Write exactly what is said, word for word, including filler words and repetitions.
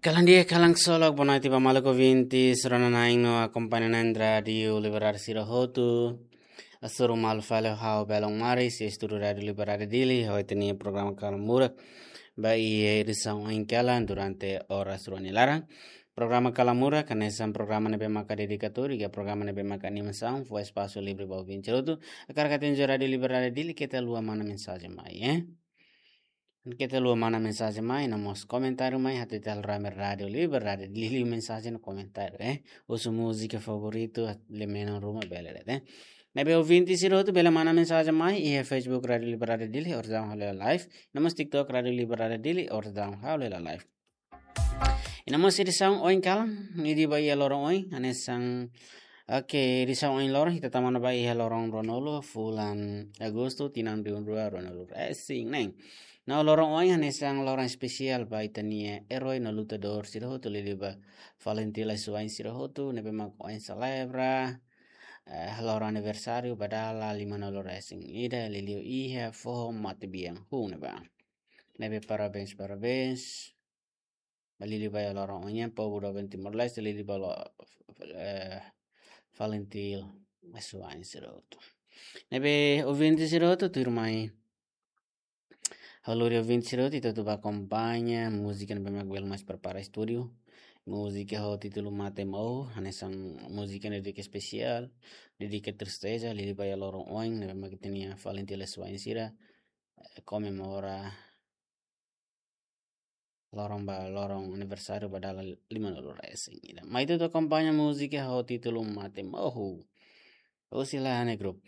Kalan di'ak, kalan ksolok, boa noite ba maluk ouvintes, rona-na'in no akompaña na'in Rádiu Liberdade sira hotu. Hasoru malu fali ho ha'u Belon Maris, iha estúdiu Rádiu Liberdade Dili, ho ita-nia programa Kalan Murak. Ba iha edisaun ohin kalan durante oras rua nia laran. Programa Kalan Murak hanesan programa ne'ebé maka dedikatóriu, iha programa ne'ebé maka animasaun, fó espasu livre ba ouvinte hotu. Hakarak atu enjoy Rádiu Liberdade Dili, keta haluha mana mensajen mai, eh. Keta haluha mana mensajen mai, no mós komentáriu mai, atu ita halo rame Rádiu Liberdade Dili mensajen no komentáriu, eh. Husu múzika favoritu, lee menon ruma bele de'it, eh. Ne'ebé ouvinte sira hotu bele mana mensajen mai, iha Facebook Rádiu Liberdade Dili, orsida ha'u halo hela live. No mós TikTok Rádiu Liberdade Dili, orsida ha'u halo hela live. I no mós edisaun ohin kalan, ida ba iha loron ohin, hanesan, oke, edisaun ohin loron, ita tama ona ba iha loron ruanulu, fulan Agostu, tinan rihun rua ruanulu resin neen. No loron ohin, hanesan loron espesiál ba ita-nia erói no lutadór sira hotu, liuliu ba FALINTIL asuwa'in sira hotu, ne'ebé mak ohin selebra, eh, loron aniversáriu ba dala limanulu resin ida, liuliu iha foho matebian hun ne'ebá. Ne'ebé parabéns, parabéns. Ba liuliu ba iha loron ohin nian, povu doben Timor-Leste, liuliu ba lo, eh, FALINTIL asuwa'in sira hotu. Ne'ebé ouvinte sira hotu, tuirmai ha'u lori ouvinte sira hotu, ita hotu ba akompaña múzika ne'ebé mak belun mós prepara estúdiu. Múzika ho títulu Mate Mohu, hanesan múzika ne'e dedika espesiál, dedika tristeza, liuliu ba iha loron ohin, ne'ebé mak ita-nia FALINTIL asuwa'in sira, eh, komemora loron ba, loron aniversáriu ba dala limanulu resin ida. Mai ita hotu akompaña múzika ho títulu Mate Mohu. Husi Lahane Group.